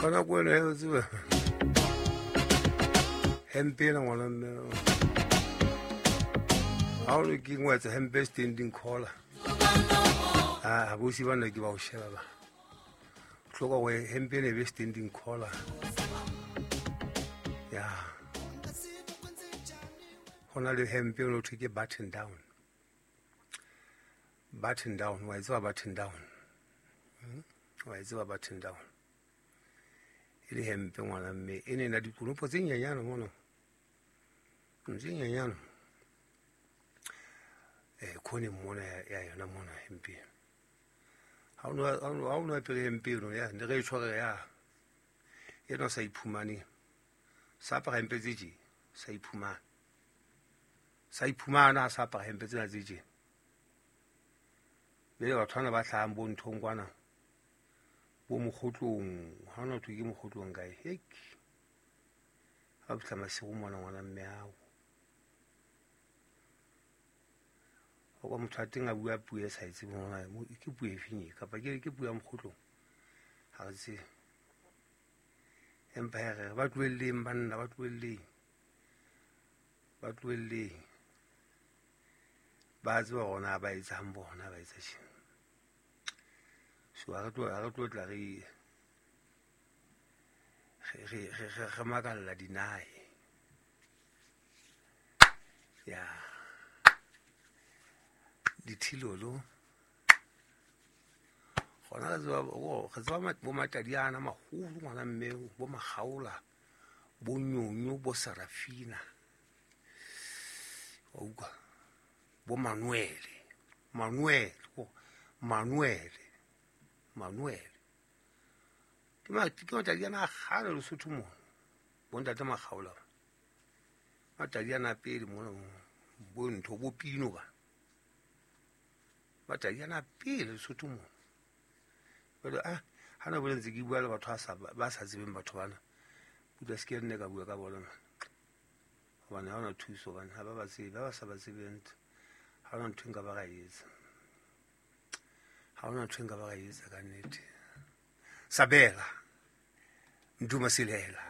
Ka nako ena o tseba hempe ena ngwana mme ha o ke ngwetsa hempe standing collar a bosi bana ke ba o sheba ba hloka gore hempe ena e be standing collar ya go na le hempe o thwe ke button down. Button down wa e tseba button down, wa e tseba button down e le hempe ngwana mme e ne na dikonopo tse nyenyane mono tse nyenyane khone mona ya yona mona hempe ha o no apere hempe eno ya ne re e tshware ya e no sa iphumane sa apara hempe tse tje sa iphumana sa iphumana sa apara hempe tsena tse tje le batho bana ba hlahang bo nthong kwana bo mokgotlong ha ona thwe ke mokgotlong kae hek ha fihla masigo mona ngwana mme ao o kwa motho a teng a bua puo e sa e tsebeng hore ke puo e feng e kapa ke puo ya mokgotlong ha re tsebe. Empa he re ba tlohelleng banna ba tlohelleng ba tlohelleng ba tseba hore na ba etsang bona ba etsa tjena. So ha re tlo tla re makalla dinae ya dithilolo gona re tseba bo matadiana maholo ngwana mme bo makgaola bo nyonyo bo Sarafina wa utlwa bo Manuele Manuele ke matadiana a kgale Lesotho mona bo ntate Makgaola matadiana a pele mona bo ntho bo Pino ba matadiana a pele Lesotho mona. Jwale ha na bole ntse ke bua le batho ba sa tsebeng batho bana pula se ke nne ka bua ka bona hobane ha hona thuso hobane ha ba ba tsebe ba sa ba tsebeng ha hona ntho e nka ba ka etsa ha hona ntho e nka ba ka etsa ka nnete. Sabela Nduma Silela.